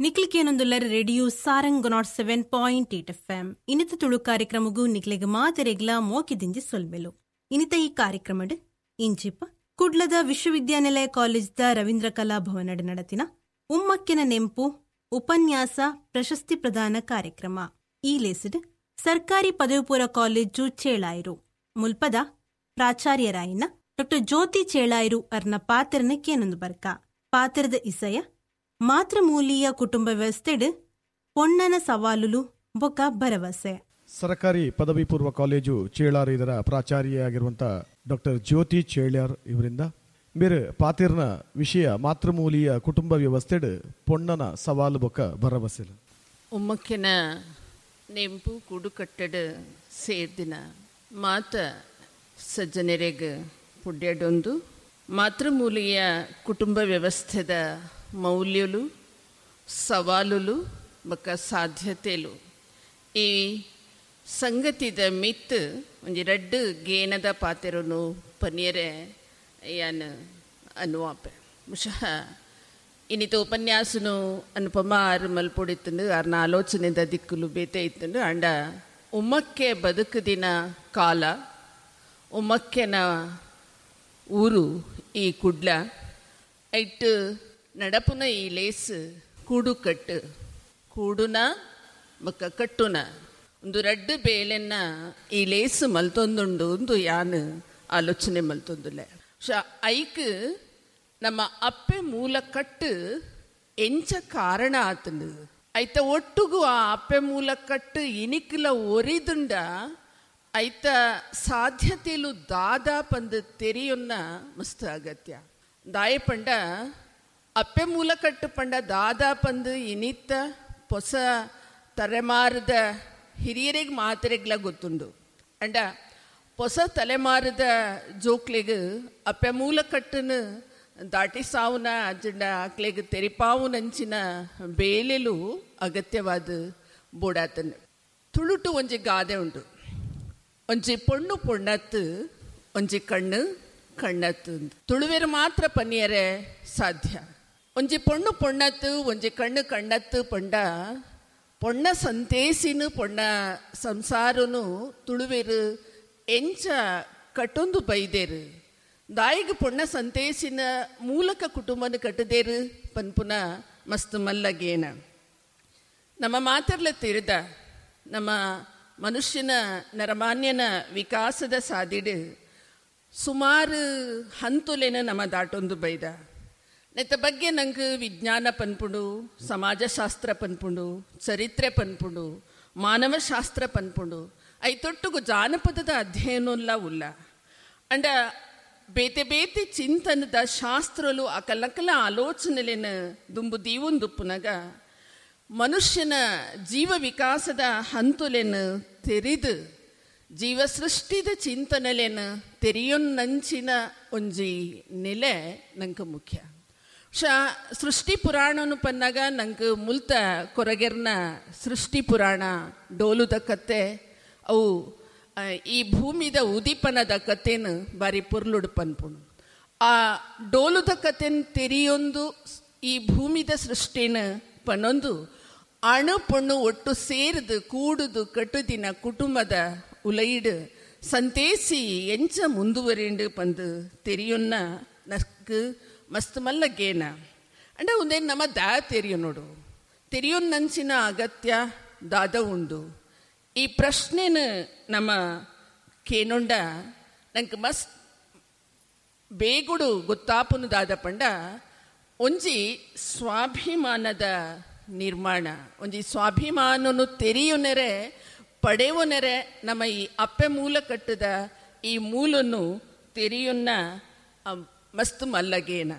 ನಿಕ್ಲಿಕೇನೊಂದುಲ್ಲರ್ radio Sarang 107.8 FM. ಇನಿತ ತುಳು ಕಾರ್ಯಕ್ರಮಗೂ ನಿಕ್ಲೆಗ್ ಮಾತೆರೆಗ್ಲ ಮೋಕಿದಿಂಜಿ ಸೊಲ್ಮೆಲು. ಇನಿತ ಈ ಕಾರ್ಯಕ್ರಮಡ್ ಇಂಚಿಪ ಕುಡ್ಲದ ವಿಶ್ವವಿದ್ಯಾನಿಲಯ ಕಾಲೇಜ್ದ ರವೀಂದ್ರ ಕಲಾ ಭವನಡ್ ನಡತಿನ ಉಮ್ಮಕ್ಕಿನ ನೆಂಪು ಉಪನ್ಯಾಸ ಪ್ರಶಸ್ತಿ ಪ್ರದಾನ ಕಾರ್ಯಕ್ರಮ. ಈ ಲೇಸಿಡ್ ಸರ್ಕಾರಿ ಪದವಿಪೂರ್ವ ಕಾಲೇಜು ಚೇಳಾಯಿರು ಮುಲ್ಪದ ಪ್ರಾಚಾರ್ಯರಾಯಿನ ಡಾಕ್ಟರ್ ಜ್ಯೋತಿ ಚೇಳಾಯಿರು ಅರ್ನ ಪಾತ್ರನ ಕೇನೊಂದು ಬರ್ಕ. ಪಾತ್ರದ ಇಸಯ ಮಾತೃಮೂಲೀಯ ಕುಟುಂಬ ವ್ಯವಸ್ಥೆಡ್ ಪೊಣ್ಣನ ಸವಾಲುಲು ಬೊಕ ಭರವಸೆ. ಸರಕಾರಿ ಪದವಿ ಪೂರ್ವ ಕಾಲೇಜು ಚೇಳಾರ್ ಇದರ ಪ್ರಾಚಾರ್ಯೆಯಾಗಿರುವಂಥ ಡಾಕ್ಟರ್ ಜ್ಯೋತಿ ಚೇಳ್ಯಾರ್ ಇವರಿಂದ ಮೇರೆ ಪಾತಿರ್ನ ವಿಷಯ ಮಾತೃಮೂಲೀಯ ಕುಟುಂಬ ವ್ಯವಸ್ಥೆಡ್ ಪೊಣ್ಣನ ಸವಾಲು ಬೊಕ ಭರವಸೆ. ಉಮ್ಮಕ್ಕಿನ ನೆಂಪು ಕೂಡುಕಟ್ಟಡ ಸೇರ್ದಿನ ಮಾತ ಸಜ್ಜನರೆಗ್ ಪುಡ್ಯಡೊಂದು ಮಾತೃಮೂಲೀಯ ಕುಟುಂಬ ವ್ಯವಸ್ಥೆದ ಮೌಲ್ಯಲು ಸವಾಲುಲು ಬೊಕ್ಕ ಸಾಧ್ಯತೆಲು ಈ ಸಂಗತಿದ ಮಿತ್ ಒಂಜಿ ರಡ್ಡ್ ಗೇನದ ಪಾತೆರನು ಪನಿಯರೆ ಯಾನ್ ಅನುವಾಪೆ. ಮುಷಃ ಇನ್ನಿತ ಉಪನ್ಯಾಸನು ಅನುಪಮ ಆರು ಮಲ್ಪೊಡಿತ್ತಂಡು ಆರ್ನ ಆಲೋಚನೆದ ದಿಕ್ಕುಲು ಬೇತೆ ಇತ್ತಂಡು. ಅಂಡ ಉಮ್ಮಕ್ಕೆ ಬದುಕುದಿನ ಕಾಲ ಉಮ್ಮಕ್ಕೆನ ಊರು ಈ ಕುಡ್ಲ ಐಟ್ ನಡಪುನ ಈ ಲೇಸ್ ಕೂಡು ಕಟ್ಟು ಕೂಡುನ ಬೊಕ್ಕ ಕಟ್ಟುನ ಒಂದು ರಡ್ಡು ಬೇಲೆನ್ನ ಈ ಲೇಸ್ ಮಲ್ತೊಂದುಂಡು ಒಂದು ಯಾನ್ ಆಲೋಚನೆ ಮಲ್ತೊಂದುಲ್ಲೆ. ಐಕ್ ನಮ್ಮ ಅಪ್ಪೆ ಮೂಲ ಕಟ್ಟು ಎಂಚ ಕಾರಣ ಆತಂಡು ಐತ ಒಟ್ಟುಗು ಆ ಅಪ್ಪೆ ಮೂಲ ಕಟ್ಟು ಇನಿಕ್ಲ ಒರಿದುಂಡ ಐತ ಸಾಧ್ಯತೆಲು ದಾದಾ ಪಂದು ತೆರಿಯೊನ್ನ ಮಸ್ತ್ ಅಗತ್ಯ. ದಾಯ ಪಂಡ ಅಪ್ಪೆ ಮೂಲ ಕಟ್ಟು ಪಂಡ ದಾದಾ ಪಂದು ಇನಿತ್ತ ಹೊಸ ತಲೆಮಾರದ ಹಿರಿಯರಿಗೆ ಮಾತೆರೆಗ್ಲ ಗೊತ್ತುಂಡು. ಅಂಡ ಹೊಸ ತಲೆಮಾರದ ಜೋಕ್ಲೆಗ್ ಅಪ್ಪೆ ಮೂಲ ಕಟ್ಟನ್ನು ದಾಟಿಸಾವುನ ಅಜ್ಜಂಡ ಆಕ್ಲೆಗ್ ತೆರಿಪಾವುನಂಚಿನ ಬೇಲೆಲು ಅಗತ್ಯವಾದ ಬೋಡಾತನ. ತುಳುಟು ಒಂಜಿ ಗಾದೆ ಉಂಡು, ಒಂಜಿ ಪೊಣ್ಣು ಪೊಣ್ಣತ್ತು ಒಂಜಿ ಕಣ್ಣು ಕಣ್ಣತ್ತು. ತುಳುವೆರು ಮಾತ್ರ ಪನ್ನಿಯರೆ ಸಾಧ್ಯ. ಒಂಜಿ ಪೊಣ್ಣು ಪೊಣ್ಣತ್ತು ಒಂಜಿ ಕಣ್ಣು ಕಣ್ಣತ್ತು ಪಂಡ ಪೊಣ್ಣ ಸಂತೇಸಿನು ಪೊಣ್ಣ ಸಂಸಾರನು ತುಳುವೆರು ಎಂಚ ಕಟ್ಟೊಂದು ಬೈದೇರು. ದಾಯಿಗೆ ಪೊಣ್ಣ ಸಂತೇಸಿನ ಮೂಲಕ ಕುಟುಂಬನ ಕಟ್ಟದೇರು ಪನ್ಪುನ ಮಸ್ತ್ ಮಲ್ಲಗೇನ. ನಮ್ಮ ಮಾತರ್ಲ ತಿರಿದ ನಮ್ಮ ಮನುಷ್ಯನ ನರಮಾನ್ಯನ ವಿಕಾಸದ ಸಾದಿಡು ಸುಮಾರು ಹಂತುಲೇನ ನಮ್ಮ ದಾಟೊಂದು ಬೈದ. ನೆತ್ತ ಬಗ್ಗೆ ನಂಗೆ ವಿಜ್ಞಾನ ಪನ್ಪುಂಡು, ಸಮಾಜಶಾಸ್ತ್ರ ಪನ್ಪುಂಡು, ಚರಿತ್ರೆ ಪನ್ಪುಂಡು, ಮಾನವಶಾಸ್ತ್ರ ಪನ್ಪುಂಡು, ಐತೊಟ್ಟುಗು ಜಾನಪದದ ಅಧ್ಯಯನಲ್ಲ ಉಲ್ಲ. ಅಂಡ ಬೇತೆ ಬೇತೆ ಚಿಂತನದ ಶಾಸ್ತ್ರಲು ಅಕಲಕಲ ಆಲೋಚನೆಲೇನ ದುಂಬು ದೀವೊಂದುಪ್ಪುನಗ ಮನುಷ್ಯನ ಜೀವ ವಿಕಾಸದ ಹಂತುಲೇನು ತೆರಿದು ಜೀವ ಸೃಷ್ಟಿದ ಚಿಂತನೆಲೇನು ತೆರಿಯೊನ್ನಂಚಿನ ಒಂಜಿ ನೆಲೆ ನಂಗೆ ಮುಖ್ಯ. ಸೃಷ್ಟಿ ಪುರಾಣನು ಪನ್ನಾಗ ನಂಗೆ ಮುಲ್ತ ಕೊರಗೆರ್ನ ಸೃಷ್ಟಿ ಪುರಾಣ ಡೋಲುದ ಕತೆ ಅವು ಈ ಭೂಮಿದ ಉದೀಪನದ ಕತೆನು ಬಾರಿ ಪೊರ್ಲುಡು ಪನ್ಪುಂಡು. ಆ ಡೋಲುದ ಕತೆನ ತೆರಿಯೊಂದು ಈ ಭೂಮಿದ ಸೃಷ್ಟಿನ ಪನ್ನೊಂದು ಅಣು ಪೊಣ್ಣು ಒಟ್ಟು ಸೇರಿದು ಕೂಡುದು ಕಟ್ಟುದಿನ ಕುಟುಂಬದ ಉಲೈಡು ಸಂತೇಸಿ ಎಂಚ ಮುಂದುವರಿಂಡು ಪಂದು ತೆರಿಯೊನ್ನ ನಕ್ಕು ಮಸ್ತ್ ಮಲ್ಲ ಗೇನ. ಅಂಡ ಒಂದೇನು ನಮ್ಮ ದಾ ತೆರಿಯೋ ನೋಡು ತೆರಿಯೊನ್ನಂಚಿನ ಅಗತ್ಯ ದಾದ ಉಂಡು. ಈ ಪ್ರಶ್ನೆನ ನಮ್ಮ ಕೇನೊಂಡ ನಂಗೆ ಮಸ್ತ್ ಬೇಗುಡು ಗೊತ್ತಾಪುನು ದಾದ ಪಂಡ ಒಂಜಿ ಸ್ವಾಭಿಮಾನದ ನಿರ್ಮಾಣ, ಒಂಜಿ ಸ್ವಾಭಿಮಾನನು ತೆರೆಯುನೆರೆ ಪಡೆಯುವನೆರೆ ನಮ್ಮ ಈ ಅಪ್ಪೆ ಮೂಲ ಕಟ್ಟದ ಈ ಮೂಲನ್ನು ತೆರೆಯುನ್ನ ಮಸ್ತ್ ಮಲ್ಲಗೇನ.